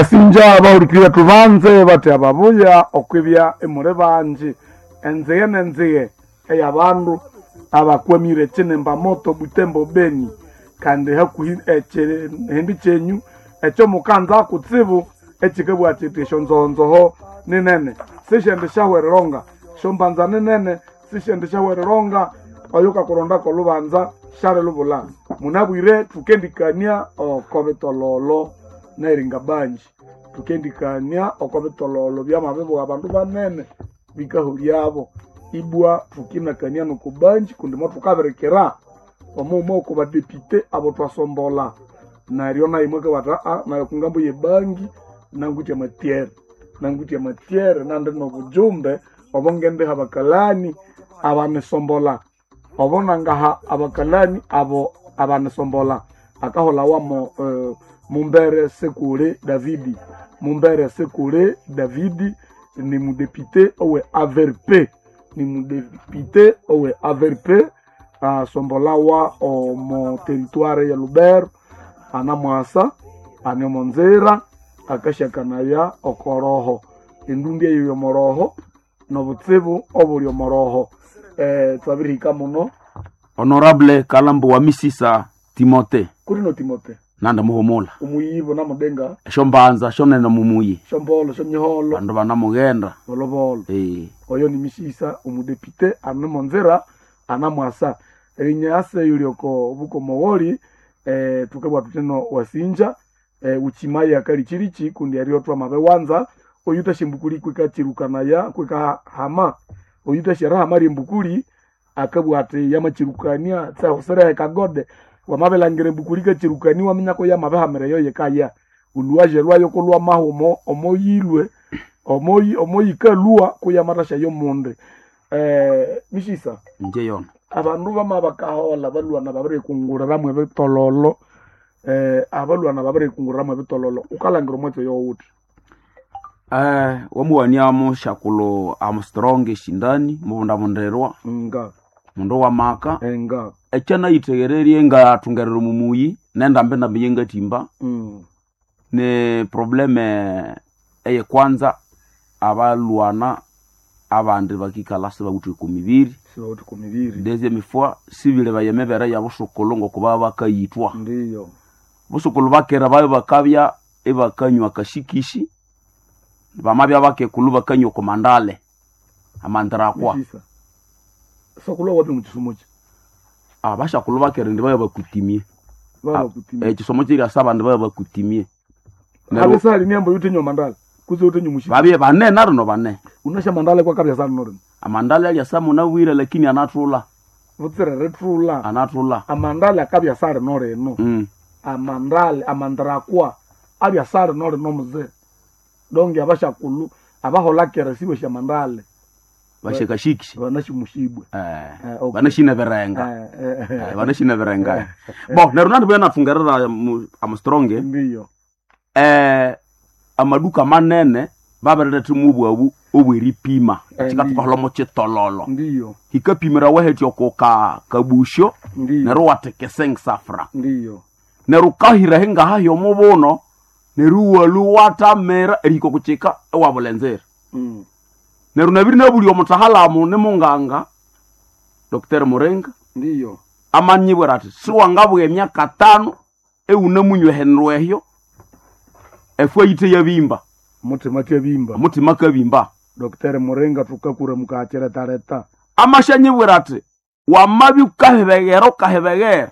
Wasinja bahurikirye tubanze bathi ababuya okwibya imuli bangi enzige nenzige eyabandu abakwamire ekinimba moto Butembo Beni kandi hakuhi ekihindi kyenyu ekyomukanza kutsibu ekikabugha kiti esyonzohonzoho ninene sisyendi syahwereronga syombanza ninene sisyendi syahwereronga oyukakurondako olubanza syalilubula. Munabwire thukendikania oko bitololo neringa banji, thukendikania oko bitololo byamabibugha abandu banene bikahulyabo ibwa thukinakania noko banji kundi mothukabirikira omughuma oko badepite abo thwasombolha neryo nayo mwakabugha athi nayo okungambo yebangi nangwithe amatyere, nangwithe amatyere nandi nobujumbe obongendiha abakalani abanisombolha obo nangaha abakalani abo abanisombolha akaholhawamo Mumbere Sekule Davidi. Mumbere Sekule Davidi ni mudepite owe AVRP, ni mudepite owe AVRP asombolawa omo territoire ya Lubero anamwasa ane omonzira akasyakanaya okoroho endundi eyo yomoroho nobutsibu obuli omoroho. Twabirihika muno. Honorable Kalambo wa Misisa Timote Kulino Timote nanda muhumula omuyibo namudenga esyombanza syonene mumuyi syombolo syomyiholo bandu banamughenda. Bolobolo. Eh. Oyo ni Misisa omudepite ane monzira anamwasa erinyasa eyuli oko bukomowoli. Tukabugha thuthino wasinja uchimaye akalichilichi kundi eryo twamabiwanza oyuthasya embukuli kwikachirukanaya kwikahama oyuthasya erihama ryembukuli akabugha athi yamakyirukania tsihusirehe kagode wamabilhangira embukuli ikachirukania iwaminya yamabihamira eyo yikaya olhuwaje lwayo kulwamaha omo omoyilwe omoyikalhwa kuyamathasya yomundi. Misisa Inje yona abandu bama bakaholha balhwana babirikunguliramu ebitololo, abalhwana babirikunguliramu ebitololo wukalhangira omwatsi oyo wuthi? Wamuwania mushakulo Armstrong eshindani mubundabundirwa Nga mundu wamaka enga ekyanayitheghererye ngathungerera omumuyi nendambi ndambi yengathimba. Ni probleme eyekwanza abalhwana abandi bakikalha sibawithe oko mibiri. Sibawithe oko mibiri. Deuxième fois sibilebaya emibere yabusukulhu ngoku bakayithwa. Ndiyo. Busukulhu bakera babya bakabya ibakanywa akashikishi bamabya bakekulhu bakanywa oko mandale amandirakwa. Misisa sokulhu wapi mukisumo ki? Abashakulhu bakera indi babya bakutimie. Babakutimie. Ekisomo kyiryasa abandi babya bakutimie. Habe sali niambo yuthenywa mandale kutse yuthenywa mushiki babye bane narino bane. Unasya mandale kwakabya sali norino Amandale alyasa munabwire lakini anathulha. Butsira erithulha. Anathulha. Amandale akabya sali norino. Amandale amandirakwa abya sali norino muze donge abashakulhu abaholha kera sibasya mandale Bashakashikisha. Banashimushibwe. Okay. Banashine birenga. Banashine birenga. Bo neryo nandi nathungerera Armstrong. Ndiyo. Amaduka manene babiriletha mubwabu obweripima kikathukaholha mukitololo. Ndiyo. Hikapimira wahetya oko kabusho. Ndiyo. Neryo watheka esensafra. Ndiyo. Neryo ukahira hingaha hyomubuno neryo iwalhwa iwathamira erihika okukika iwabulha enzira. Neryo nabiri nabulya omutahalamu nimunganga Dr. Muringa. Ndiyo. Amanyibwira athi siwangabugha emyaka tano iwunamunywa ehindu ehyo efwa yithe yabimba. Muthima atyabimba. Omuthima akabimba. Dr. Muringa thukakura mukakyiretaleta. Amashanyibwira athi wamabya wukahibeghera wukahibeghera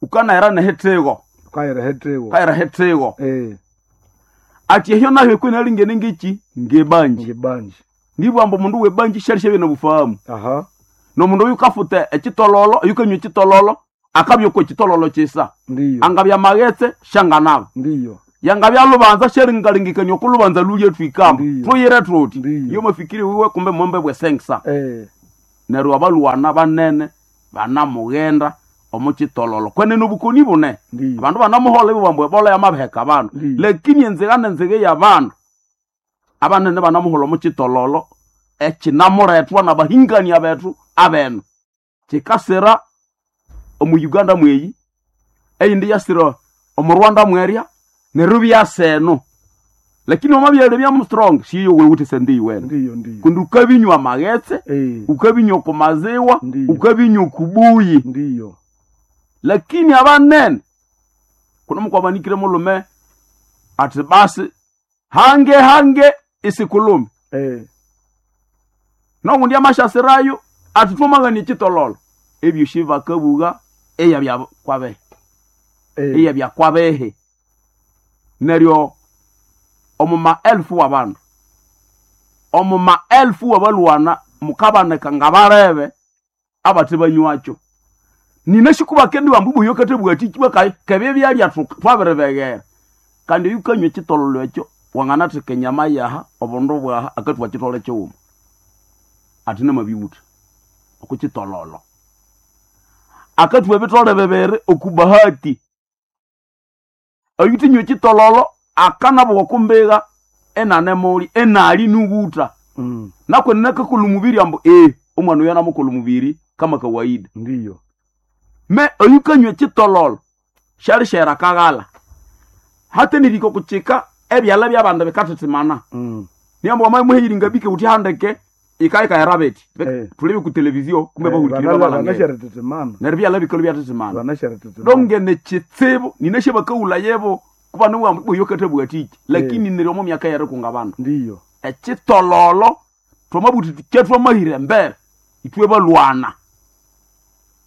wukanahera nehithigo. Wukahera ehithigo. Wukahera ehithigo. Athi ehyo nayo kwinalingene ngeki ngebanji. Ngebanji. Nibugha ambu omundu webanji syalisyabya nobufahamu. Aha. Nomundu oyukafuta ekitololo oyukanywa ekitololo akabya okwa ekitololo kyisa. Ndiyo. Angabya maghetse syanganaba. Ndiyo. Yangabya lubanza syaringalengekania oku lubanza lulye thwikamba. Ndiyo. Thuyire thuthi. Ndiyo. Iyo mafikiri wiwe kumbe mwembe bwesengisa. Neryo abalhwana banene banamughenda omo kitololo kwenene obukoni bune. Ndiyo. Abandu banamuholha ibabugha ambu ebola yamabiheka abandu. Ndiyo. Lakini enzigha nenzigha eyabandu abanene banamuholha omo kitololo ekinamulethwa nabahingania bethu abenu. Kikasira omu Uganda mweyi, eyindi yasira omu Rwanda mwerya, neryo ibyasa eno. Lakini wamabyalya bya strong siyo wewuthe sende iwene. Ndiyo, ndiyo. Kundi ukabinywa amaghetse, ukabinywa ku maziwa, Ndiyo. ukabinywa ku buyi. Ndiyo. Lakini abanene kuno mukwabanikire mulume ati basi hange hange isikulume. Nogundi amashasirayo ati twamagana ekitololo. Ebyo shibakabuga eya bya kwabehe. Eya bya kwabehe. Neryo omu maelfu w'abandu, omu maelfu w'abalwana mukabaneka nga barebe abate banywakyo. Nina shikubakendi bambu kate bwatiki bakayi kebye byalya twabiribeghera. Kandi yukanywa ekitololo ekyo wanganatheka enyama yaha obundu bwaha akatwa kitole kiwuma. Ati namabiwutha okukitololo. Akatwa ebitole bibiri okubahati. Oyuthinywa ekitololo akanabuwa okumbiga enanemuli enali nuwutha. Nakwe nakakolha omubiri ambu omwana oyo anamukolha omubiri kama kawaida. Ndiyo. Me oyukanywa ekitololo syalishera akaghala. Hate niriko kuchika ebyalha by'abandu bikathithimana. Niambu wamamuheyiri ngabike uthi handeke ikaikahera beti. Tulebe ku televizio kumbe bahulikire babalangere. Banasharetetemana. Neryo ebyalha bikalu byathithimana. Banasharetetemana. Donge nekitsibu nineshe bakawula yebo kuba niwambu oyo kathabwatiki. Lakini neryo omo myaka yerikunga abandu. Ndiyo. Ekitololo twamabuthi kyetwamahira embere ithwe balwana.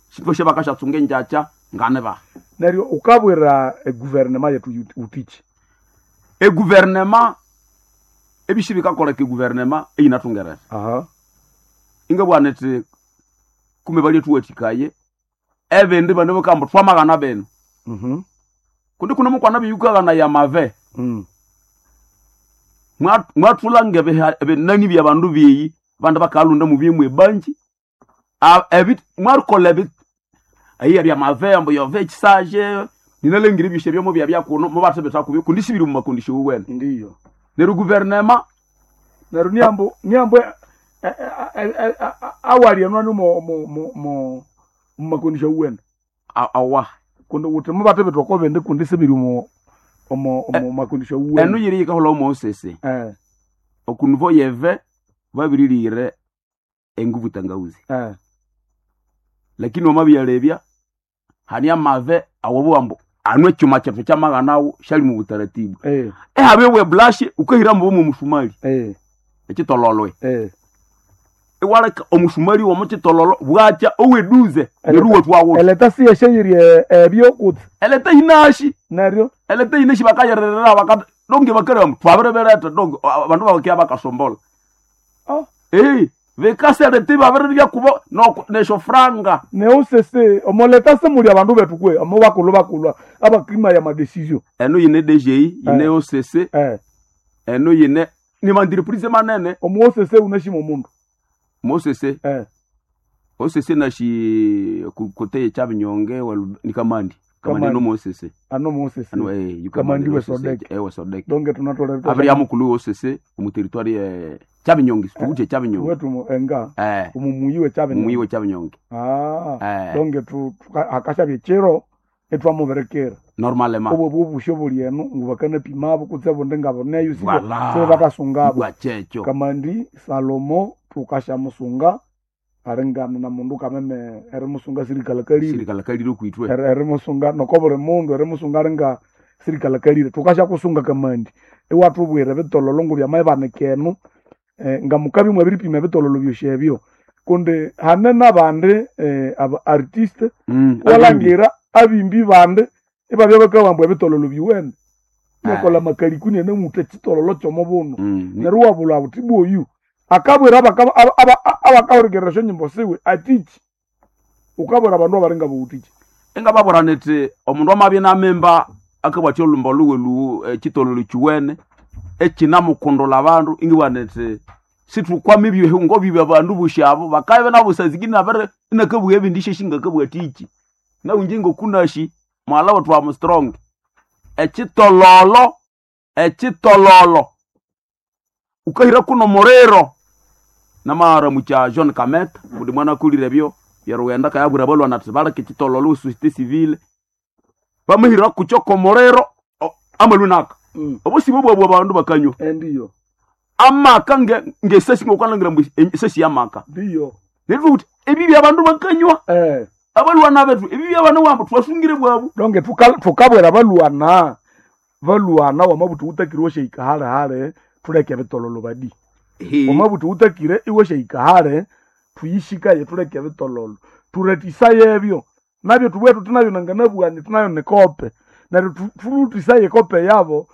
Sithwashe bakashatsunga enjacha ngane ba. Neryo ukabwira eguvernema yetu utichi. Eguvernema ebishi bikakoleka eguvernema eyinathungerera. Ingabwana thi kume balye thuwathikaye ebindi bano bakamba twamagana bino. Kundi kuno mukwana biyukagana ya mave. Mwathula ngebinani bya bandu byeyi bandu bakalunda mu byemwe ebanji. Mwarukola ebi ayiya bya mave ambu yove ekisaje ninalengire ebyosya byomo bya byakuno mubathebetha kubyo kundi sibiri mu makondisho wuwene. Ndiyo. Neryo guvernema Neryo niambu niambu awali enwani mo mo mo mo makondisho wuwene. Awa. Kundi uthi mubathebetha oko bindi kundi sibiri mu omo omo makondisho wuwene. Enu yiri yikaholha Moses. Okunivo yeve babirilire enguvu tangauzi. Lakini wamabyalebya hani amave awobo ambu anu ekyuma kyethu kyamaghanawo syali mu butaratibu. Ehabe we blush ukahira mbo mu musumali. Ekitololwe. Iwaleka omusumali wo mukitololo bwacha oweduze neruwe twawo. Eleta siye sheyiri ebyo kutsi. Eleta inashi. Neryo eleta inashi bakayererera bakat donge bakara twabirebereta donge abandu babakia bakasombola. Bikasereti babiribya kubo no nesho franga. Neusese omoleta semuli abandu bethu kwe omo bakulu bakulwa abakrima ya madecision. Eno yine DGI yine OCC. Eno yine ni mandireprise manene. Omo OCC unashima omundu. Mo OCC. OCC nashi kote chabinyonge ni kamandi. Kamandi no mo OCC. Ano mo OCC. Ano kamandi we Sodek. We Sodek. Donge tunatolera. Abri amukulu OCC mu territoire Chabinyonge, situche Chabinyonge. Wetu enga. Umumuyiwe Chabinyonge. Mumuyiwe Chabinyonge. Donge tu akasha byechero etwamuberekera. Normalement. Obwo bubusho buli eno ngubakana pimabo kutse bonde ngabo neyo sibyo. Sibyo bakasungabo. Bwachecho. Kamandi Salomo tukasha musunga arengana na mundu kameme erimusunga sirikala kalire. Sirikala kalire kuitwe. Erimusunga nokobore mundu erimusunga arenga sirikala kalire. Tukasha kusunga kamandi. Ewatubwire bitololo ngo byamayibanekeno. Nga mukabi mwabiripima bitololo byoshebyo. Kundi hane nabandi aba artiste walangira abimbi bandi ibabya bakabambwa ebitololo biwene. Nekola makalikuni ene muthe chitololo kyomubuno. Neryo wabula buthi boyu akabwira abakahurikerera esyonyimbo siwe atichi. Ukabwira abandu abaringa bawutichi. Engababwira niti omundu amabya namimba akabwathya olhumba luwe luwu ekitololo kiwene ekinamukundula abandu ingibwira niti sithukwama ebyehungo bibya abandu bosi abo bakabya nabo sazikini nabere inakabugha ebindi syeshi ngakabugha Nawu inje ngokunashi mwala wethu wa strong. Ekitololo ekitololo ukahira kuno muriro namara mucha John Kameta kundi mwana akulire ebyo byarughenda kayabwira abalwana ati baleke ekitololo société civile bamahira kukyo komuriro amalunaka. Obusibo bwabwe abandu bakanywa. Ndiyo. Amaka ngesesi ngokukalangira mbu esesi yamaka. Ndiyo. Neryo uthi ebi byabandu bakanywa. Abalwana bethu ebi byabana wambo twasungire bwabu. Donge tukabwera balwana. Balwana wamabuthi utakire washahika hale hale tuleke bitololo badi. Wamabuthi utakire iwashahika hale tuyishikaye tuleke bitololo. Turetisaye ebyo. Nabyo tubwetu tunayo nanganabwani tunayo nekope. Neryo tulutisaye kope yabo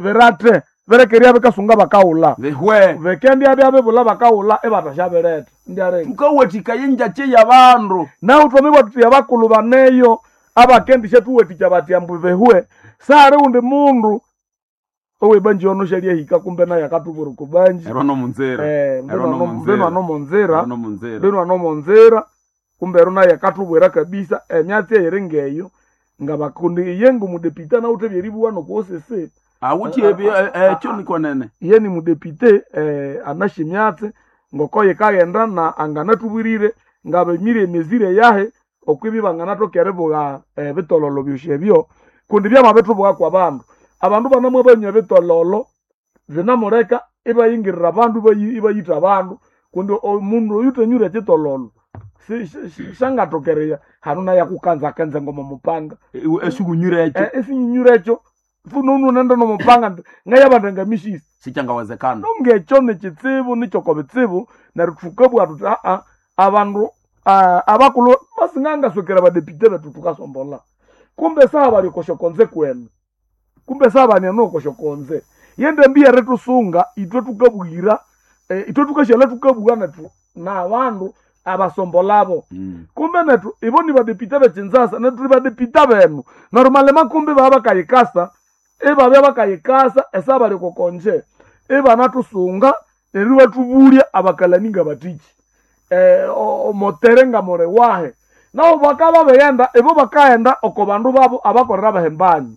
berate berekeria bekasunga bakaula. Bihwe. Bekendi abya bebula bakaula ebatashabereta. Ndiarenga. Tukawathika yenjache yabandu. Naho twamibwa tuti abakulu baneyo abakendisha tuwathikya bati ambu behwe. Sare undi mundu owebanji ono shalyahika kumbe naye akatubura kubanji. Ero no munzira. Mbeno no munzira. Ero no munzira. Mbeno no munzira. Kumbe ero naye akatubwera kabisa emyatsi eyiri ngeyo ngabakundi iye ngumudepite nawuthe byeribuwa nokuosese. Awuthi ekyo niko nene. Iye ni mudepite anashe emyatsi ngokoye kaghenda na anganatubwirire ngabemire emizire yahe okwibi banganathoka eribuga ebitololo byosi ebyo kundi byamabithubuga kwa bandu. Abandu banamwe banywa ebitololo binamuleka ibayingirira abandu ibayitha abandu kundi omundu oyuthanyure ekitololo shangathokereya hanu naye akukanzakanza ngoma mupanga. Esikunyure ekyo. Esinyunyure ekyo fununu nenda nomupanga ngayabanda ngamishisa. Sikyangawezekana. Nongekyo nikitsibu nikyoko bitsibu neryo thukabugha thuthi aa abandu abakulhu basingangaswekera badepite bethu thukasombola. Kumbe saha bali okosyokonze kwenu. Kumbe saha baniano okosyokonze. Yendambi erithusunga ithwe thukabuyira ithwe thukashyalha thukabugha nethu nabandu abasombolabo. Kumbe nethu ibo ni badepite bekinzasa nethu thuli badepite benu. Neryo malima kumbe baba bakayikasa ibabya bakayikasa esaha bali okokonje. Ibanathusunga neryo ibathubulya abakalani ngabathiki. Omotere ngamore wahe. Nabo bakaba baghenda ibo bakaghenda oko bandu babo abakolera bahembanye.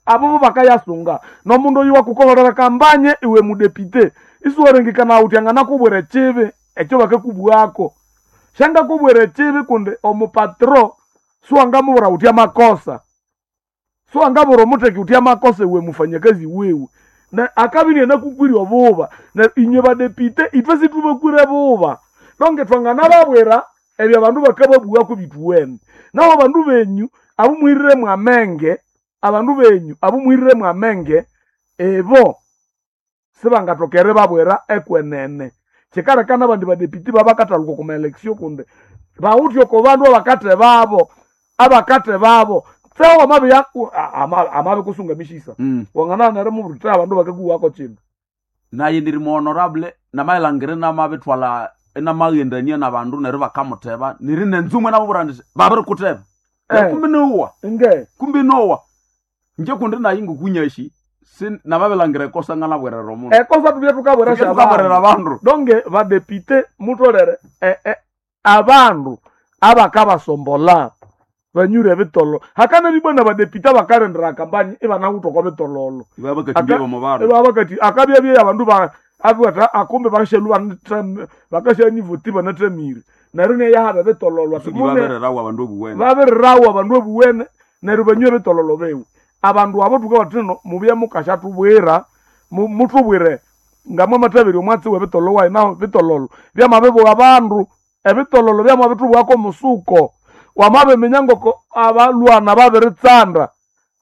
Abo bo bakayasunga. Nomundu oyu wakukoholera kambanye iwe mudepite. Isiwarengekana uthi anganakubwira ekibi ekyo bakakubwako. Syangakubwira ekibi kundi omupatro siwangamubwira uthi amakosa. Siwangabwira omutheki uthi amakosa iwe mufanyakazi wiwe. Na akabiri anakukwira obuba. Na inywe badepite ithwe sithubakwire buba. Nonge thwanganababwira ebyo abandu bakababugha bituwene. Naho abandu benyu abumwirire mwamenge, abandu benyu abumwirire mwamenge ebo sibangatokere babwira ekwenene. Kyikaleka abandi badepite babakathaluka okwa election kundi bawuthe oko bandu abakathe babo, abakathe babo. Tseho amabikusunga mishisa. Wangana nerimubwira abandu bakakuwako kino. Naye ndiri mu honorable namayilangire namabithwala enamaghendania nabandu neryo bakamutheba niri nenzumwe nababwira indi babirikutheba. Kumbe nowa. Nge. Kumbe nowa. Inje kundi nayi ngokunyashi namabilangira ekosa nganabwerera omundu. Ekosa tubye tukabwera Tubye tukabwerera abandu. Donge badepite mutholere abandu abakabasombola banyure ebitololo. Hakana bibona badepite abakarendera kampanye ibanawutha okwa bitololo. Ibabakathibye bomo bandu. Ibabakathi akabyabye abandu ba abiwatha akumbe bakashalwa bakashanivuti banathamire. Neryo neyahaba ebitololo ati mune Ibabererawo abandu obuwene. Babererawo abandu obuwene neryo banywe ebitololo biwe. Abandu abo thukabathi no mubye mukashathubwira muthubwire ngamwe amathabiri omwatsi w'ebitololo wayi naho bitololo byamabibuwa abandu ebitololo byamabithubwako omusuko. Wamabiminya ngoko abalwana babiritsanda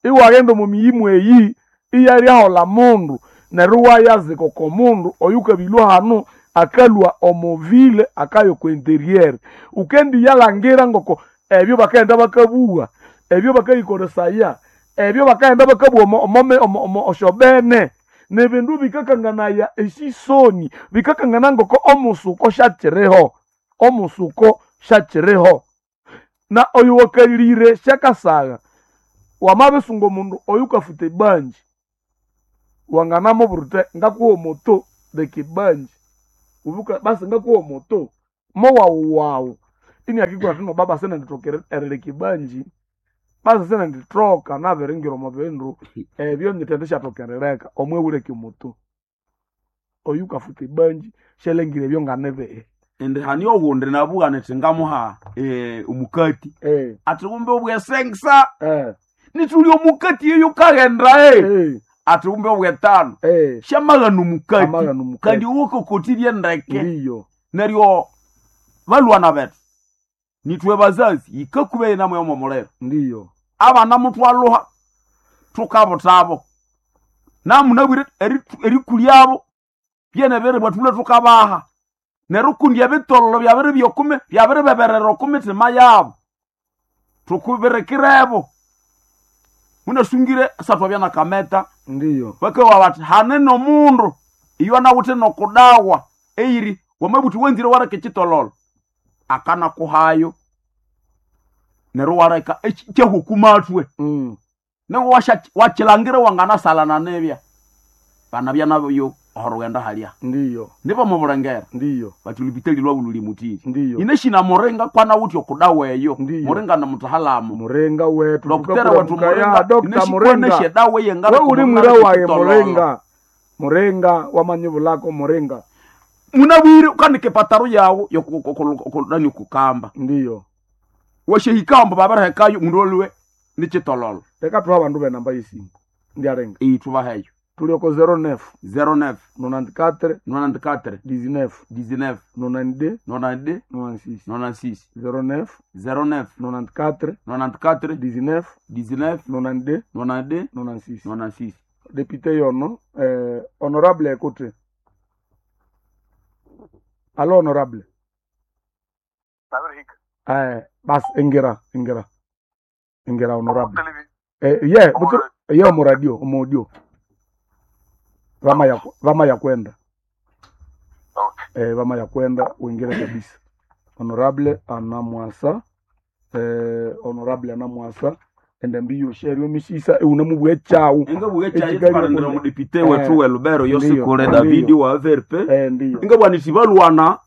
iwaghenda omu miyimu eyi iyalyaholha mundu neryo iwayazika oko mundu oyukabilwa hanu akalwa omu ville akaya oko interior. Ukendiyalhangira ngoko ebyo bakaghenda bakabuwa, ebyo bakayikolesaya, ebyo bakaghenda bakabuwa omo osyobene nibindu bikakanganaya esisoni bikakangana ngoko omusuko syakyiriho, omusuko syakyiriho. Na oyo wakalire syakasagha wamabisunga omundu oyukafuta ebanji wanganamubwira wuthi ngakuha omoto leka ebanji ubuka basi ngakuha omoto mowawuwawu iniakikura athi no baba sinendithoka erileka ebanji basi sinendithoka nabiringira omo bindu ebyo nyithendishathoka erileka omwewuleka omoto oyukafuta ebanji syalhangira ebyo nganibihi. Indi hani owundi nabugha nithi ngamuha omukati athi kumbe obwesengisa nithuli omukati eyo kaghenda. Ati umbe obwetano. Syamaghana omukati. Amaghana omukati. Kandi ukokotirye ndeke. Ndiyo. Neryo balwana bethu. Nitwe bazazi yikakube inamo yomo muliro. Ndiyo. Abana mutwaluha tukabutabo. Namunabwire erikulyabo byene bere bwatule tukabaha. Neryo kundi ebitololo byabere byokume byabere beberera okumitima yabo. Tukubirekirebo. Munasungire satwa byana kameta. Ndiyo. Bakawa bati hanene omundu iyo anawuthe nokudawa eiri wamabuthi wenzire wareka ekitololo akana kuhayo neryo wareka kyahukumathwe. Nengo wakilangira wanganasalana nibya bana byanabyo orughenda halya. Ndiyo. Nibo mubulengera. Ndiyo. Bati lupitali lwabu luli mutiri. Ndiyo. Ineshina murenga kwana wuthi okudawa eyo. Ndiyo. Murenga na mutahalamu. Murenga wetu. Doktera wetu murenga. Dokta Murenga. Ineshi edawa eyengana We uli kumulala mwira waye ekitololo. Murenga. Murenga wamanyibulako Murenga. Munabwire ukandika epataro yawu yokunani kukamba. Ndiyo. Washehikamba babarahekayo mundu olwe nikitololo. Leka tuha abandu benamba yesimu. Ndiarenga. Iyi tubaheyo. Tulioko 09 09 94 94 19 19 92 92 96 96 09 09 94 94 19 19 92 92 96. 96. Député yono honorable écoute. Allo honorable. Bas ingira ingira. Ingira honorable. Ye butu ye mu radio mu audio. Vama ya kwenda. Okay. Vama ya kwenda uingire kabisa. Honorable anamwasa honorable anamwasa ende mbiyo sherio misisa euna chawu. Inga bwe chayi Ekigali twarendera kunde. mudepite wetu we Lubero Yosikule Ndiyo. Davidi wa VRP. Ndiyo. Inga bwa nitibalwana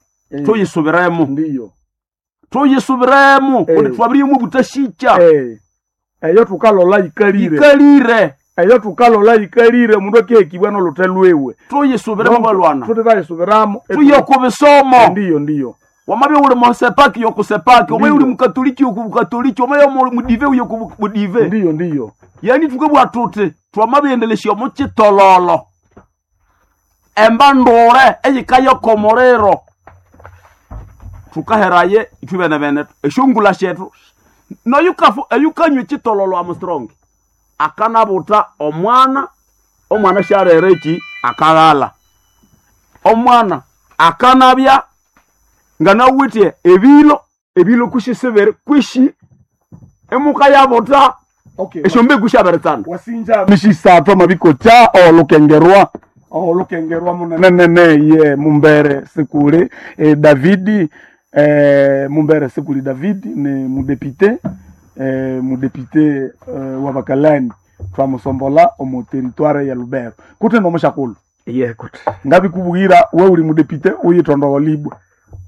tuyisubiremo. Ndiyo. Tuyisubiremo kundi twabirimu butashicha. Eyo tukalola ikalire. Ikalire. Eyo tukalola ikalire mundu akehekibwa n'olute lwewe. Tuyisubiremo balwana. Tutayisubiramo. Tuye ku bisomo. Ndiyo ndiyo. Wamabye uli musepaki yokusepaki, omaye Ndiyo. uli mukatoliki yokubukatoliki, omaye mudive yokubudive. Ndiyo ndiyo. Yani tukabwa tuti twamabyendelesya omukitololo. Emba ndure eyikayokomuliro. Tukaheraye ithwe bene bene esyongula syethu. Noyukafu eyukanywa ekitololo Armstrong akanabuta omwana, omwana syarera eki akalala. Omwana akanabya nganawithe ebilo, ebilo kusisibiri kwishi emuka yabuta Okay. esyombegu syabiritsana. Wasinja mishisato mabikocha olukengerwa olukengerwa munenenene ye Mumbere Sikuli Davidi Mumbere Sikuli Davidi ni mudepite mudepite wa Bakalani twamusombola omu territoire ya Lubero kute nomushakulu Iye kuti ngabikubwira we uli mudepite uyitondowa libwe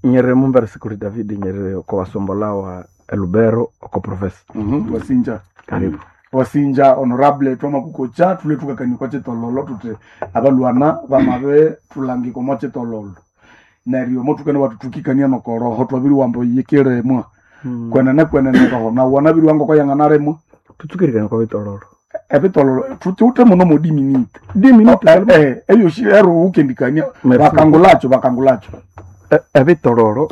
nyerere Mumbere Sikuli David nyerere ko wasombola wa Lubero oko profesa. Wasinja Karibu. Wasinja honorable twamakukocha tule tukakanyikwa chitololo tuti abalwana bamabe tulangiko mwa chitololo neryo motukene watutukikania nokoroho twabiri wambo yikiremwa kwenene kwenene roho na wana biri wango koyanganaremwa Tutsukirikana kwa bitololo. ebitololo tutute muno modiminite Diminute. eyoshi ero ukendikania Merci. bakangulacho bakangulacho Ebitololo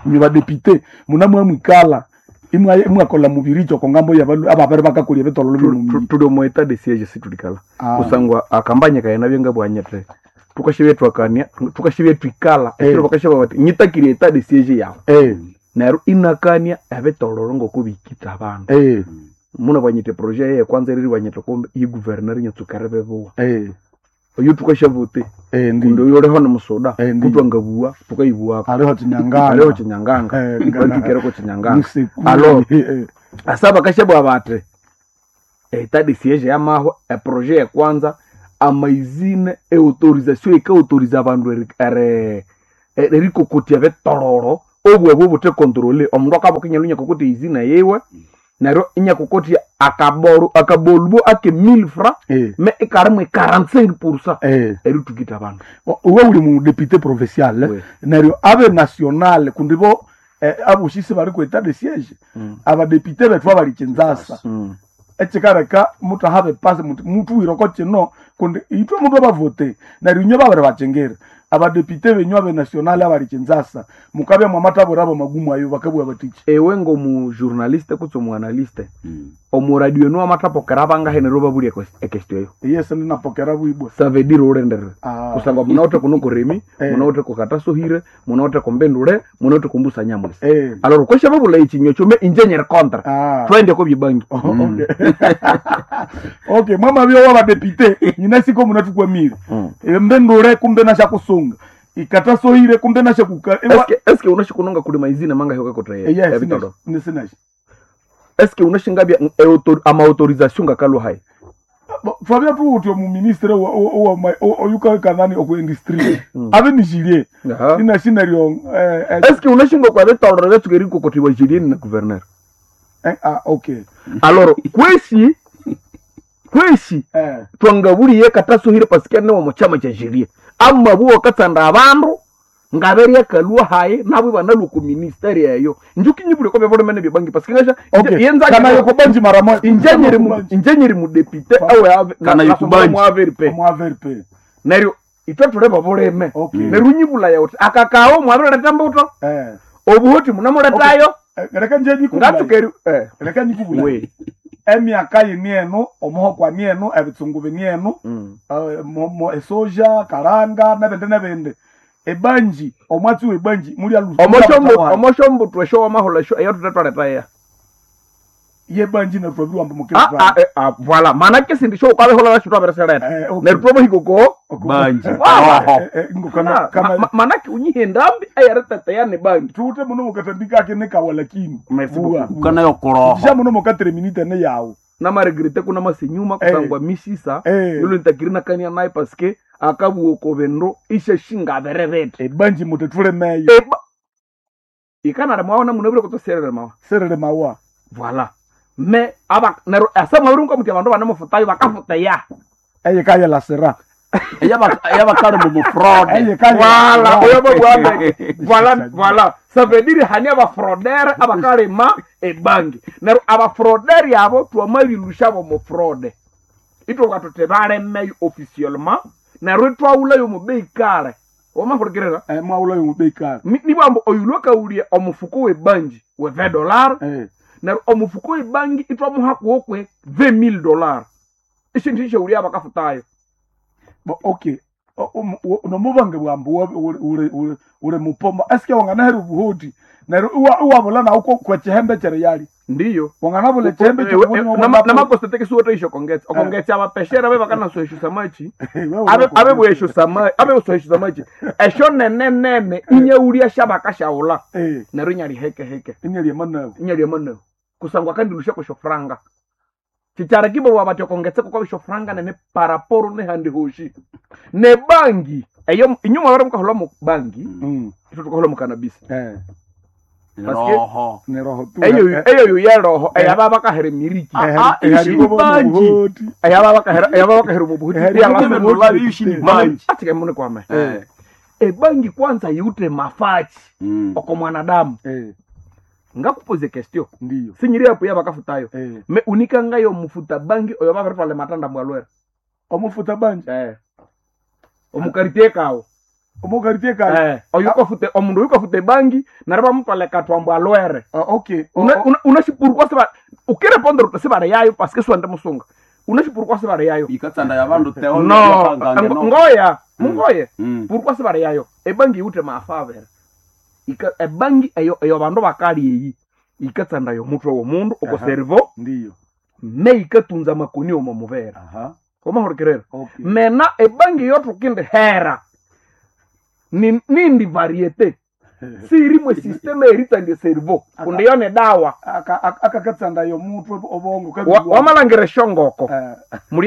ni badepite muna mwikala imwakola mubiricho kongambo yabalu ababere bakakolya ebitololo bino tuli omu etat de siege situlikala. Ah. Kusangwa akambanya kayana byenga bwanyete. Tukashibye twakania, tukashibye twikala. Ekiro bakashaba bati nyitakire etat de siege yawe. Neryo inakania ebitololo ngokubikita abandu. Muna bwanyite projet ye kwanza eriri bwanyite kumbe iyi guverneur nyatsukere bebuwa. Oyo tukashavute. Ndi Kundi oyo oliho ni musoda. Ndi. Kutwangabuwa tukayibuwako. hariho chinyanganga Hariho chinyanganga. Batukireko chinyanganga. Alo. Asa bakashabwa bati etat de siege yamahwa eprojet ya kwanza amaizine eautorisation ekaautoriza abandu erikokotia bitororo obwebwe butekontrole omundu akaboka inyalu inyakokotia izina yiwe neryo inyakokotia akaboru akabolubo ake 1000 francs me ikarimwe 45% eritukita abandu. Uwe uli mu député provincial Oui. neryo abe national kundi bo aboshisi bari ku etat de siège abadepite bethu abali Kinshasa. Ekikareka mutaha bipasi muti mutuwireko kino kundi itwe mutu abavote neryo inywe babiri bakingire abadepite benyu abe national abali Kinshasa mukabya mwamatabura abo magumu ayo bakabwa batiki. Ewe ngomujournaliste kutse omuanalyste, omuradio enu wamathapokera bangahe neryo babulya ekestio eyo? Yes, ndinapokera bwibwa. Ça veut dire ulenderere. Ah. Kusangwa munawithe kuno kurimi, munawithe kukatasohire, munawithe kumbindule, munawithe kumbusa nyamwisi. Alors kwesha babula ekinywa kyome inje nyeri kontra. Ah. Twende ko byebangi. Okay. Okay, mwama byo wabadepite nyina siko munatukwamire. Mbendure kumbe nashakusunga ikatasohire kumbe nashakuka. Eske unashikunonga kulima izina manga hiyo kakotra Yes, ebitodo. nisinashi. Eske unashingabya ama autorisation ngakalo hai? Fabia tu uti omuministre oyukakanani oku industry abe nishilie Aha. inashineryo. Eske unashinga kwa bitoro byatsuka kokotiwa jilieni na gouverneur? Ah, okay. Alors kwesi twangabuliye katasuhire pasikia newo mu chama cha jilie amabuo katsanda abandu ngaberia kalua haye nabo banalwa ku ministeri eyo njuki nyibule ko byabolomene byebangi pasikia ngasha Okay. yenza Kana yokubanji mara moja. injenyeri mu député awe ave Kana yokubanji. mu AVRP. Mu AVRP. Neryo itwe tuleba buleme. Okay. Neryo nyibula yawe akakao mwabireta mbuto obuhoti munamuletayo. Reka nje nyikubula. Ngatsukeri Reka nyikubula. We. Emyaka yini eno omuhokwa ni eno ebitsungu bini eno, esoja karanga nebindi nebindi ebanji omwatsi webanji muli alu Omoshombutu esho wamahola esho eyo tutetwaletaya. Yebanji netwabirwamba Ah, ah, ah, voilà mana ke sindi sho ukabehola nasho twabereseleta. Neryo twabahikoko Banji. manake unyihe ndambi eyareteteya ni bangi. Tuute muno mukatambika ake nekawalakini. Merci beaucoup. Ukana yokoroho. Sha muno mukatere minute ne yawo. Namaregrete kuna masinyuma kusangwa misisa yulo ntakiri nakania naye paske akabuoko bendo ishe shingabererete. Ebanji mutetule meyo. Ikanare mwaona munabire kutoserere mawa. Serere mawa. Voilà me aba nero asa mwabiri muti abandu banemufutayo bakafuteya. Eye kaya la sera. Eyabakali mu mufraude. Eye kaya. Voilà, oyo babwambe. Voilà, voilà. Ça veut dire hani abafraudere abakalima ebangi. Nero abafraudere abo twamabilusha bo mu fraude. Itwoka tuti balemeyo officiellement nero itwaulayo mu bei kale. Wamahurikirira? Mwaulayo mu bei kale. Nibwambo oyulwa kaulie omufuko webangi we $20. Nero omufuko webangi itwamuha kuokwe $20,000. Ishintu ishaulia abakafutayo. Okay. Nomubange bwambu ule mupoma eske wanganahera obuhoti neryo iwabula nawo kwekihembe kyereyali. Ndiyo. Wanganabula ekihembe. Namakosetekisiwote isho kongetsa okongetsya abapeshera be bakanasohesha samachi abe bwesho samachi abe sohesha samachi esho nene nene inyaulia shabakashaula neryo inyali heke heke inyali emanabu inyali emanabu kusangwa kandilusha kwesho franga chichara kibo wabati okongetseka kwa bisho franga nene paraporo nehandi hoshi ne bangi eyo inyuma wari mukahola mu bangi itwo tukahola mu cannabis. Roho. Ni roho tu. Eyo eyo yo roho eyaba bakahera miriki. Banji. Eyaba bakahera eyaba bakahera mu buhuti. Banji. Atike mune kwame. Ebangi kwanza yute mafachi oko mwanadamu. Ngakupoze question. Ndiyo. Sinyiri apo yabakafutayo. Me unikangayo mufuta bangi oyo babatwale matanda mwalwera. Omufuta bangi. Omukaritie kawo. Omukaritie kawo. Oyo ukafute omundu ukafute bangi nari bamutwale katwambo alwere. Okay. Unashipurukwa siba ukirepondera sibare yayo paske swende musunga. Unashipurukwa sibare yayo. Ikatsanda ya bandu teo. No, ngoya, mungoye. Purukwa sibare yayo. Ebangi yute mafavera. Ika ebangi eyo eyo bandu bakali eyi. Ikatsanda yo mutwe womundu uko servo. Ndiyo. Me ikatunza makoni omo mubera. Aha. Omahurikirera. Okay. Mena ebangi yotukinde hera. Ni nindi variete. Sirimwe systeme eritandie servo. Kundi yone dawa. Akakatsanda yo mutwe obongo Wamalangire shongoko. Muri